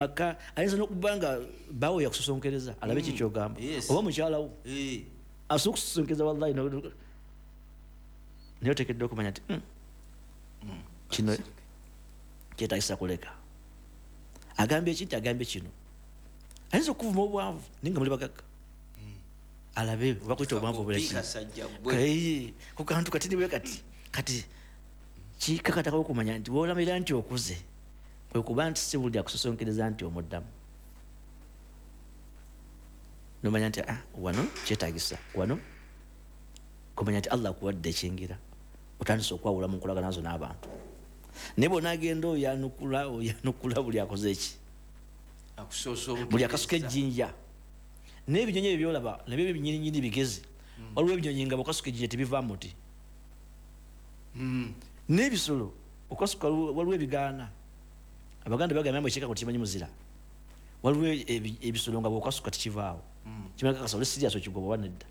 Maka ayinza n'okuba nga bawo yakusosonkereza alabe ki kyogamba. Oba mukyalawo asobola okusosonkereza, wallahi, naye oteekeddwa okumanya nti kino kyetagisa kuleka. Agambye eki nti agambye kino, ayinza okuvuma obwavu naye nga muli bagagga, alabe oba kuyita obwavu Kakopi obulaki. Kasajja gwe. Kayi ku kantu kati niwe kati kati kikakatako okumanya nti wolamira nti okuze kwe kuba nti si buli akusosonkereza nti omuddamu, nomanya nti ah, wano kyetagisa wano kumanya nti Allah akuwadde ekyengera, otandise okwawula mu nkolagana zo n'abantu. Naye bwonagenda oyanukula oyanukula buli akoze eki, Akusoosa. Buli akasuka ejjinja n'ebinyonyi ebyo byolaba nabyo binyininyini bigezi. Waliwo ebinyonyi nga bwokasuka ejjinja tebivaa muti, n'ebisolo okasuka waliwo ebigaana. Abaganda bagamba mbu ekyekako kimanyi muzira. Waliwo ebisolo nga bwokasuka tekivaawo, kimanyi kakasolo sirias okigoba oba nedda.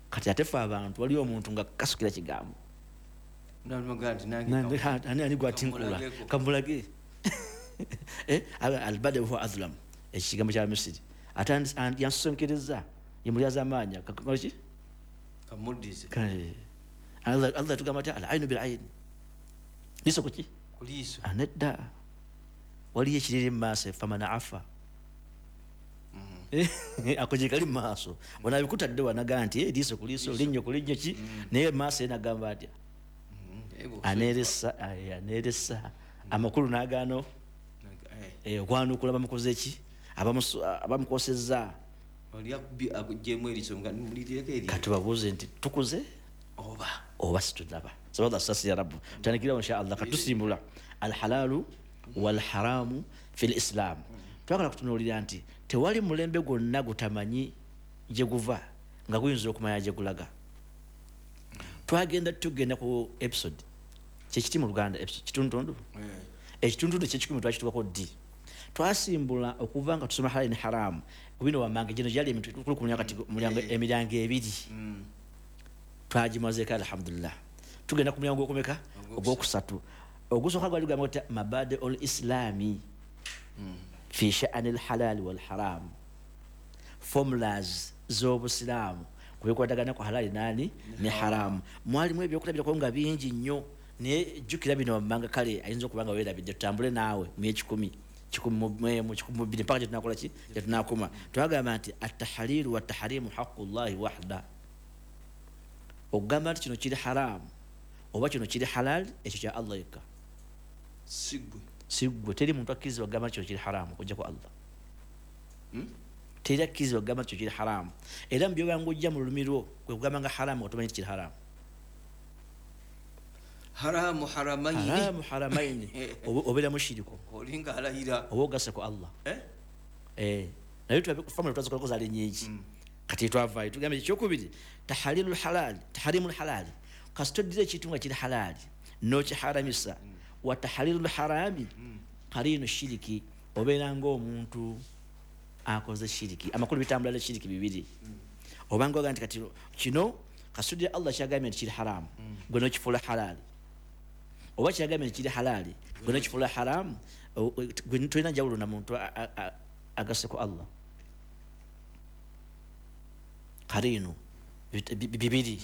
Kati ate fe abantu, waliwo omuntu nga kasukira kigambo. Ani gwatinkula? Kamulageko. Kamulage. Albada huwa azlam, ekigambo kya Misiri ate yansosonkereza ye mulyazaamaanya ki. Kamuddize. Allah tugamba ati al ainu bil aini, liso kuki? Kuliiso. Nedda, waliyo ekiriri mu maaso, faman afa. Ako gyekali mu maaso, onabikutadde wanaga nti liiso ku liiso, linnyo ku linnyo ki, naye maaso ye nagamba atya? Aneresa, aneresa amakulu n'agaano okwanukula bamukoze eki, abamukosezza. Oli akugyemu eriiso nga mulireko eri. Kati babuuze nti tukuze oba oba situnaba. Sababu asasi ya rabu tutandikirawo insha Allah. Katusimbula alhalalu walharamu fi lislam. Twagala kutunuulira nti tewali mulembe gwonna gutamanyi gye guva nga guyinza okumanya gye gulaga. Twagenda tugenda ku episode kyekiti mu Luganda episode kitundutundu, ekitundutundu ekyekikumi twakituukako ddi? Twasimbula okuva nga tusoma halali ne haramu ku bino wammanga. Gino gyali emitwe kuli ku mulyango, kati mulyango emiryango ebiri twagimazeeko, alhamdulillah. Tugenda ku mulyango gwokumeka? Ogwokusatu. Ogusooka gwali gugamba nti mabadi ul islami fi sha'ani lhalali walharam, formulas z'obusiraamu kubikwatagana ku halali nani ne haramu. Mwalimu ebyokulabirako nga bingi nnyo, naye jjukira bino wammanga. Kale ayinza okuba nga weerabidde, tutambule naawe mu ekikumi, 101, 102, mpaka gyetunakola ki, gyetunakoma. Twagamba nti atahalilu wataharimu haqu llahi wahda. Okugamba nti kino kiri haramu oba kino kiri halal, ekyo kya Allah yekka. Sigwe. Siggwe. Teri muntu akkirizibwa kugamba nti kino kiri haramu okujjako Allah. Teri akkirizibwa kugamba nti kino kiri haramu. Era mu byobanga ojja mu lulimi lwo kwe kugamba nga haramu nga tomanyi nti kiri haramu. Haramu haramaini. Haramu haramaini. Obeera mushiriku. Olinga alayira. Oba ogasse ku Allah. Eh? Eh, naye family twazikolako zaali nyingi. Kati twavaayo tugambye ekyokubiri tahalilu lhalali taharimu lhalali, kasita oddira ekintu nga kiri halali nokiharamisa, wa tahalilu lharami karinu shiriki, obeera ngaomuntu akoze shiriki. Amakulu bitambula ne shiriki bibiri. Obanga oga nti kati kino kasita Allah kyagambye nti kiri haramu, gwe nokifuula halali, oba kyagambye nti kiri halali, gwe nokifuula haramu, gwe tolina njawulo na muntu agasse ku Allah. Karinu bibiri.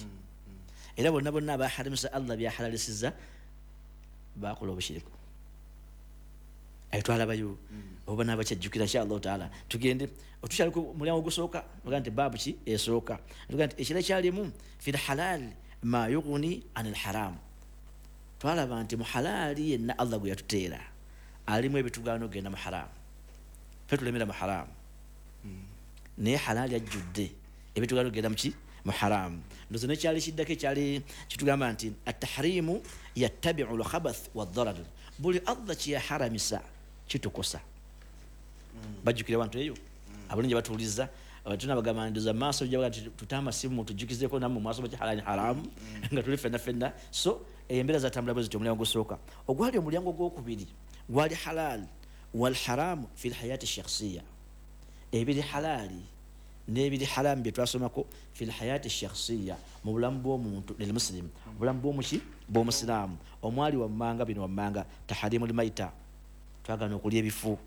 Era bonna bonna abaharamisa Allah byahalalisiza bakola obushiriku. Ayo twalabayo oba nabakyajjukira insha Allahu taala. Tugende otukyali ku mulyango ogusooka, oga nti baabu ki esooka, tuga nti ekira kyalimu fi lhalal ma yughni an lharam. Twalaba nti mu halaali yenna Allah gwe yatuteera alimu ebitugaana okugenda mu haramu. Fe tulemera mu haramu, naye halaali ajjudde ebitugaana okugenda muki, mu haramu. Ndozo nekyali kiddako ekyali kitugamba nti atahrimu yattabiu lkhabath wadharar, buli Allah kyeyaharamisa kitukosa. Bajjukira abantu eyo abalungi batuuliza tunabagamba ndoza maaso jabaga nti tute amasimu tujjukizeko nammwe mwaso baki halali haramu nga tuli fenna fenna. So embeera zatambula bwe zityo. Omulyango gusooka ogwali, omulyango gwokubiri gwali halal walharamu fi lhayati shakhsiya, ebiri halali n'ebiri haramu bye twasomako fi lhayati shakhsiya, mu bulamu bw'omuntu lilmuslim, obulamu bw'omuki, bw'omusiraamu. Omwali wammanga bino wammanga taharimu lmaita, twagana okulya ebifu.